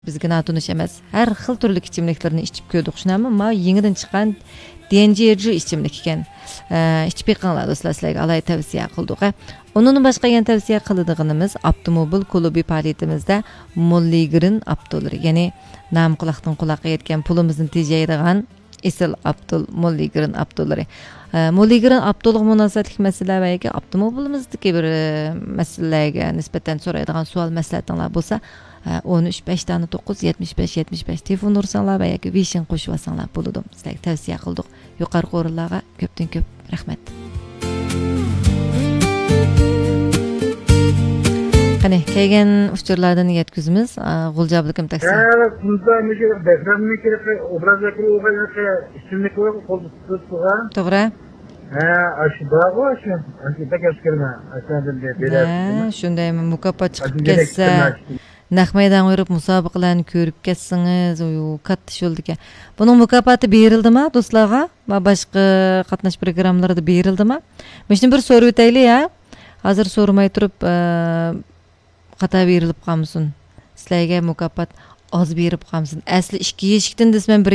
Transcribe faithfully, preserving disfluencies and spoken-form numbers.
بىزگە ناتونۇش ئەمەس. ھەر خىل تۈرلۈك ئىچىملىكلىرىنى ئىچىپ كۆردۇق، شۇنداقمۇ؟ ماۋۇ يېڭىدىن چىققان ديەنجيېجۇ ئىچىملىك ئىكەن. ئە، ئىچىپ بېقىڭلار دوستلار، سىلەرگە ئالاھىدە تەۋسىيە قىلدۇق، ھە. ئۇنىڭدىن باشقا يەنە تەۋسىيە قىلىدىغىنىمىز، ئاپتوموبىل كۇلۇبى پائالىيىتىمىزدە موللىگرىن ئاپتوللىرى، يەنى نامى قۇلاقتىن قۇلاققا يەتكەن، پۇلىمىزنى تېجەيدىغان ئېسىل ئاپتول، موللىگرىن ئاپتوللىرى. ئە، موللىگرىن ئاپتولغا مۇناسىۋەتلىك مەسىلىلەر ۋە ياكى ئاپتوموبىلىمىزدىكى بىر، ئە، مەسىلىلەرگە نىسبەتەن سورايدىغان سوئال مەسلىھەتىڭلار بولسا، ئون ئۈچ بەش دانە توققۇز يەتمىش بەش يەتمىش بەش تېلېفون ئۇرساڭلار ۋە ياكى ۋېيشىن قوشۇۋالساڭلار بولىدۇ. سىلەرگە تەۋسىيە قىلدۇق. يۇقىرىقى ئورۇنلارغا كۆپتىن كۆپ رەھمەت. قېنى، كەلگەن ئۇچۇرلاردىن يەتكۈزىمىز. ئا، غۇلجا ئابلىكىم تەكسى. ھە، بۇندا مۇشۇ بەھرامنىڭ كىرىپ ئوبراز ئەكرى ئوغاينىڭ ئىسمىنى قويۇپ قول تۇتۇپ تۇرغان. توغرا. ھە، ئاشۇ بارغۇ، ئاشۇ، ئاشۇ بەك ئەسكەرمە، ئاشۇ ھە، شۇندايمۇ مۇكاپات چىقىپ كەتسە. نەق مەيدانغا بېرىپ مۇسابىقىلەرنى كۆرۈپ كەتسىڭىز، ئۇ كاتتا ئىش بولىدىكەن. بۇنىڭ مۇكاپاتى بېرىلدىما دوستلارغا؟ ما باشقا قاتناش پروگراممىلىرىدا بېرىلدىما؟ مۇشۇنى بىر سورىۋېتەيلى، ھە؟ ھازىر سورىماي تۇرۇپ، ئە، خاتا بېرىلىپ قالمىسۇن. سىلەرگە مۇكاپات ئاز بېرىپ قالمىسۇن. ئەسلى ئىككى يېشىكتىن دېسە، مەن بىر